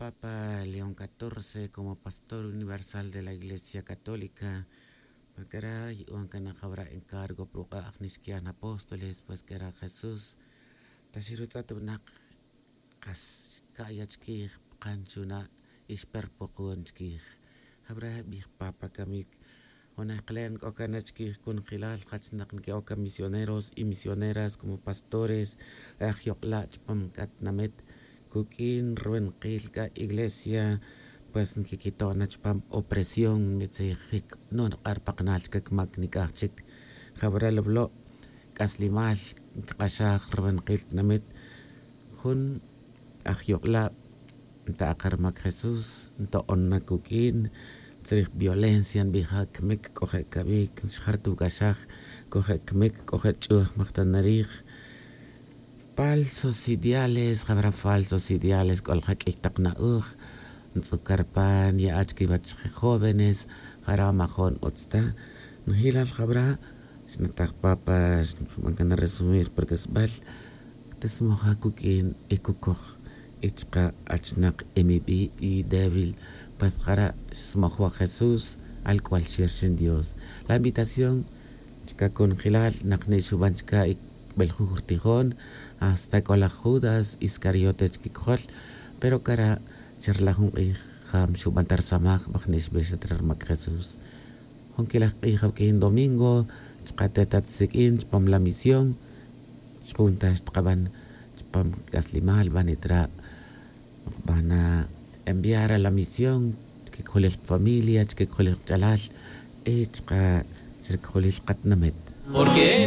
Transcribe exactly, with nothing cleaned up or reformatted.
Papa León catorce como pastor universal de la Iglesia Católica. Pues cara yu'un cana jawra encargo pa ruq'a' ajni xquian apóstoles, pues cara Jesús ta xirutz'at winak kas ca'ya chiquij, pkan xuna' y xperpokon chiquij. Jawra bij Papa camic. Jun ajk'alen c'o can chiquij cunjelal jachnak nique'oc ca misioneros y misioneras como pastores, aj yok'la' chupam c'a tinamit cuq'uin ruwenakil c'a iglesia. Pues nquiquito' na chupam opresión, mitzijic no nrk'ar pa kanal chic mac nic'aj chic. Jawra lawlo' c'aslimal ncak'axaj ruwenakil tinamit. Jun aj yok'la' nta' ka rumac Jesús nto'on na cuq'uin. Tzrij violencia nbija cmic c'o je' cabic nxjartuc'axaj. C'o je' cmic c'o je' ch'uj majtanarij. Falsos ideales jawra falsos ideales c'o lja q'uiy tak na'oj. Ntz'uc carpan ye'ach quiwach je jóvenes. Jara majon utz ta. Njelal jawra xnataj papa xban can resumir pa rc'asbal. Tismoja cuq'uin y cucoj y chka' achnak emibi' y débil. Pues jara' xsmojwa jesús. Alc'ual xir xin dios la invitación. Chka' conjelal nakni' xuban chka' y beljuj rtijon. Hasta c'o laj judas iscariote chkicojol. Pero cara' cherla jun k'ij jam xuban ta rsamaj bajni' xbix at re rmac jesús. Jun quilaj k'ij awq'uin domingo chka' te tat siq'uin chupam la misión. Xjun ta xtkaban chupam c'aslimal bani' tra' nokbana enviar a la misión. Chkicojolil kfamilia chkicojolil kch'alal y chka' chricojolil katinamit. Porque